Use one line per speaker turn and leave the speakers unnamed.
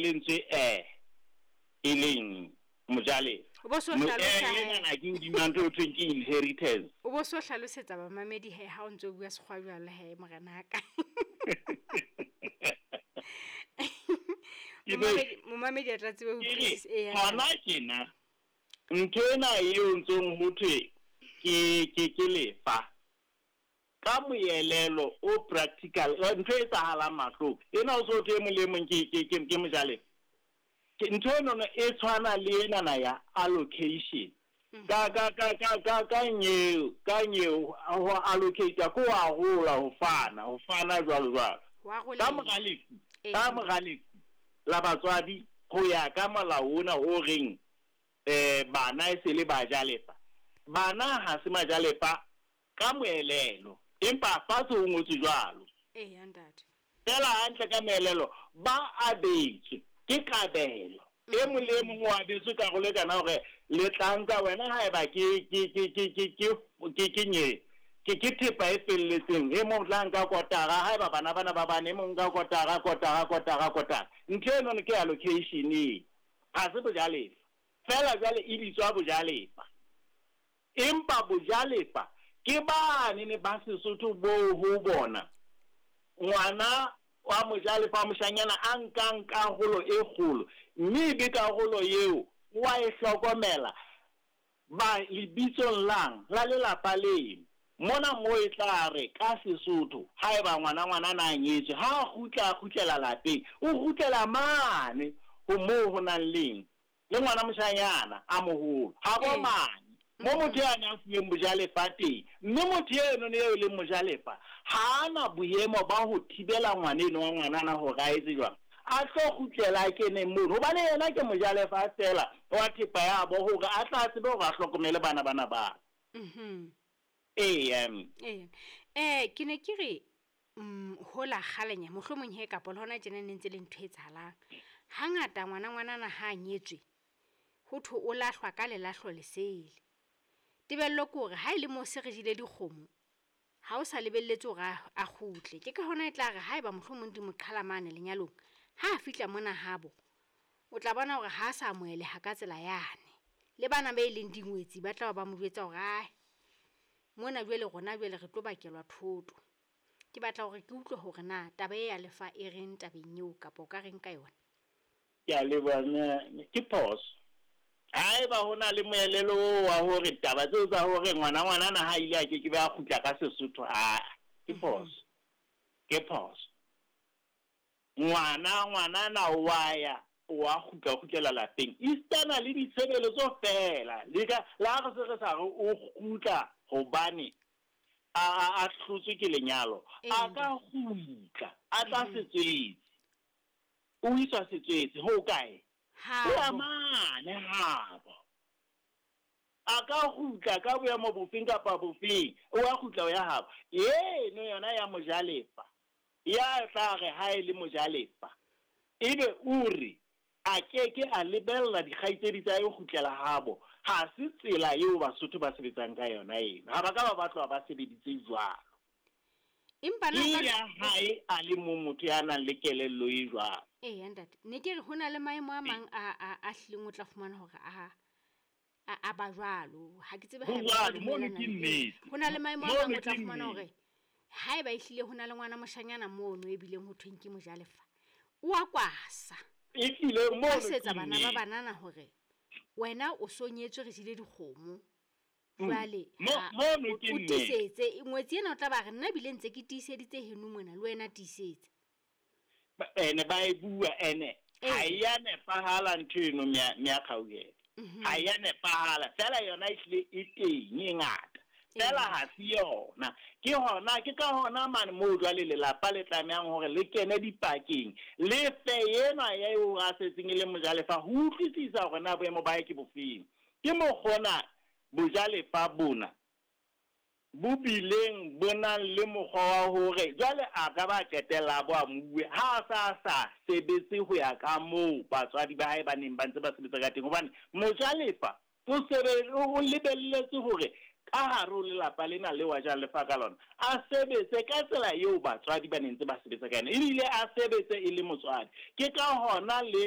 lentswe e leng mojalefa.
O bo so hlalosa he.
Enana ke hodima ntho eo thweng ke inheritance.
O bo so hlalosetsa bamamedi he ha o ntso bua sekgowa jwalo he morenaka. Momamedi a tla tsebe ho utlwisisa. Eya.
Hona tjena ntho ena eo ntsong ho thwe ke lefa ka moelelo o practical, ntho e etsahalang mahlong ena o so thwe e mong le mong ke mojalefa. Ke ntho eno e tshwana le enana ya allocation. Ka ka ka ka ka ka nyeo, ka nyeo ho allocate ko wa hola ho fana jwalo jwalo. Ka mora lefu, ka mora lefu la batswadi ho ya ka molao ona o reng bana e se le bajalefa. Bana ha se majalefa ka moelelo, empa fatshe ho ngotswe jwalo.
Eya ntate.
Fela hantle ka moelelo ba abetswe ke kabelo. E mong le mong o abetswe karolo e kana hore le tla nka wena haeba ke nye ke thepa e felletseng, e mong tla nka kotara haeba bana bana ba bane, e mong nka kotara kotara kotara kotara. Ntho eno ke allocation e ha se bojalefa. Fela jwale e bitswa bojalefa. Empa bojalefa ke bane ne ba Sesotho bo ho bona ngwana wa mojalefa moshanyana a nkang karolo e kgolo, mme ebe karolo eo wa e hlokomela ba lebitsong lang la lelapa leno. Mona mo e tla re ka Sesotho haeba ngwana ngwana na nyetswe, ha kgutla kgutlela lapeng, o kgutlela mane ho moo ho nang leng le ngwana moshanyana a moholo ha bo mane mo motho ya nang fuweng bojalefa teng. Mme motho eno ne eo leng mojalefa ha ana boemo ba ho thibela ngwana eno wa ngwanana hore a etse jwang, a tlo kgutlela a kene mono, hobane yena ke mojalefa feela wa thepa ya bo hore a tla tsebe hore a hlokomele bana bana ba. Eya.
Ke ne ke re hola kgalenya mohlomong he kapa le hona tjena ne ntse le ntho e etsahalang. Hangata ngwana ngwanana ha a nyetswe ho thwe o lahlwa ka lelahlo lesele. Tebello ke hore ha e le moo se re jele dikgomo, ha o sa lebelletse hore a kgutle. Ke ka hona e tla re haeba mohlomong di mo qhala mane lenyalong, ha a fihla mona habo, o tla bona hore ha a sa amoheleha ka tsela yane. Le bana ba e leng dingwetsi ba tla ba mo jwetsa hore ae, mona jwale rona jwale re tlo bakelwa thoto. Ke batla hore ke utlwe hore na taba e ya lefa e reng tabeng eo kapa o ka reng ka yona.
Ke a leboha, ke phoso. Haeba ho na le moelelo wa hore taba tseo tsa hore ngwana ngwanana ha ile a ke ke be a kgutla ka Sesotho, a ke phoso. Ke phoso. Ngwana ngwanana wa ya wa kgutla kgutlela lapeng. Esitana le ditshebeletso feela. Le ka la re se re sa re o kgutla hobane a hlotswe ke lenyalo. A ka kgutla, a tla setswetse. O iswa setswetse ho kae? Ho mane habo. A ka kgutla ka boemo bofeng kapa bofeng, o a kgutla o ya habo. Eno yona ya mojalefa, ya tla re ha e le mojalefa, ebe o re a keke a lebella dikgaitsedi tsa hae kgutlela habo. Ha se tsela eo Basotho ba sebetsang ka yona eno. Ha ba ka ba batla ba sebeditse jwalo.
Empa na
ya hae a le mong motho ya nang le kelello e jwalo.
Eya ntate, ne ke re ho na le maemo a mang a hlileng o tla fumana hore a ba jwalo. Ha ke tsebe
haeba ho
na le maemo a mang o tla fumana hore haeba ehlile ho na le ngwana moshanyana mono e bileng ho thweng ke mojalefa, o a kwasa.
Ehlile mono
setsa bana ba banana hore wena o so nyetswe re jele dikgomo. Jwale
mono ke
o tiisetse ngwetsi ena o tla ba re nna bile ntse ke tiiseditse heno mona le wena tiisetse.
Ene ba e bua ene ha ya nepahala ntho eno mya kgauhelo. Ha ya nepahala fela yona ehlile e teng e ngata. Fela ha se yona. Ke hona ke ka hona mane moo jwale lelapa le tlamehang hore le kene dipakeng le fe enwa ya eo a setseng e le mojalefa ho utlwisisa hore na boemo ba hae ke bofeng. Ke mokgona bojalefa bona bo bileng bo nang le mokgwa wa hore jwale a ka ba qetella bo amuwe ha sa sebetse ho ya ka moo batswadi ba hae ba neng ba ntse ba sebetsa ka teng. Hobane mojalefa o lebelletse hore ka hare ho lelapa lena le wa jalefa ka lona a sebetse ka tsela eo batswadi ba neng ntse ba sebetsa ka yona, ebile a sebetse e le motswadi. Ke ka hona le